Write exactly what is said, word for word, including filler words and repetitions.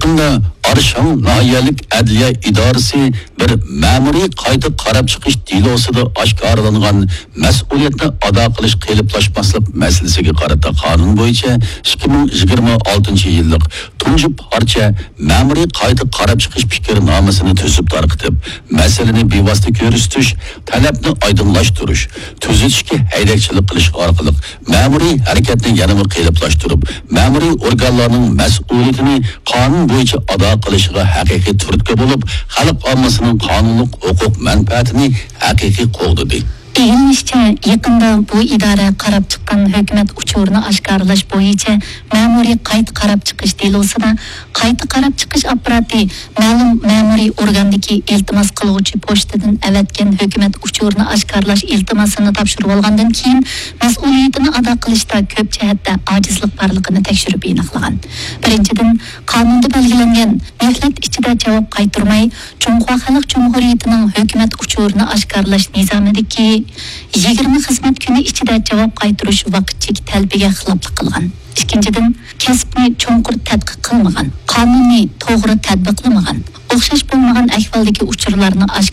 ئارشاڭ ناھىيەلىك ئەدلىيە ئىدارىسى بىر مەمۇرىي قايتا قاراپ چىقىش دېلوسىدا ئاشكارىلانغان مەسئۇلىيەتنى ئادا قىلىش قېلىپلاشماسلىق مەسىلىسىگە قارىتا قانۇن بويىچە ئىككى مىڭ يىگىرمە ئالتىنچى يىللىق تۇنجى پارچە مەمۇرىي قايتا قاراپ چىقىش پىكىرنامىسىنى تۈزۈپ تارقىتىپ، مەسىلىنى بىۋاسىتە كۆرسىتىش، تەلەپنى ئايدىڭلاشتۇرۇش، تۈزىتىشكە ھەيدەكچىلىك قىلىش ئارقىلىق مەمۇرىي ھەرىكەتنى يەنىمۇ قېلىپلاشتۇرۇپ، مەمۇرىي ئورگانلارنىڭ مەسئۇلىيىتىنى قانۇن بويىچە ئادا قىلىشىغا ھەقىقىي تۈرتكە بولۇپ، خەلق ئاممىسىنىڭ قانۇنلۇق ھوقۇق مەنپەئەتىنى ھەقىقىي قوغدىدى. دېيىلىشىچە، يېقىندا بۇ ئىدارە قاراپ چىققان ھۆكۈمەت ئۇچۇرىنى ئاشكارىلاش بويىچە مەمۇرىي قايتا قاراپ چىقىش دېلوسىدا قايتا قاراپ چىقىش ئاپپاراتى مەلۇم مەمۇرىي ئورگاندىكى ئىلتىماس قىلغۇچى پوچتىدىن ئەۋەتكەن ھۆكۈمەت ئۇچۇرىنى ئاشكارىلاش ئىلتىماسىنى تاپشۇرۇۋالغاندىن كېيىن، مەسئۇلىيىتىنى ئادا قىلىشتا كۆپ جەھەتتە ئاجىزلىق بارلىقىنى تەكشۈرۈپ ئېنىقلىغان. بىرىنچىدىن، قانۇندا بەلگىلەنگەن مۆھلەت ئىچىدە جاۋاب قايتۇرماي، جۇڭخۇا خەلق جۇمھۇرىيىتىنىڭ ھۆكۈمەت ئۇچۇرىنى ئاشكارىلاش نىزامىدىكى يىگىرمە خىزمەت كۈنى ئىچىدە جاۋاب قايتۇرۇش ۋاقىت چېكى تەلىپىگە خىلاپلىق قىلغان. ئىككىنچىدىن، كەسىپنى چوڭقۇر تەتقىق قىلمىغان، قانۇننى توغرا تەتبىقلىمىغان، ئوخشاش بولمىغان ئەھۋالدىكى ئۇچۇرلارنى ئاشكارا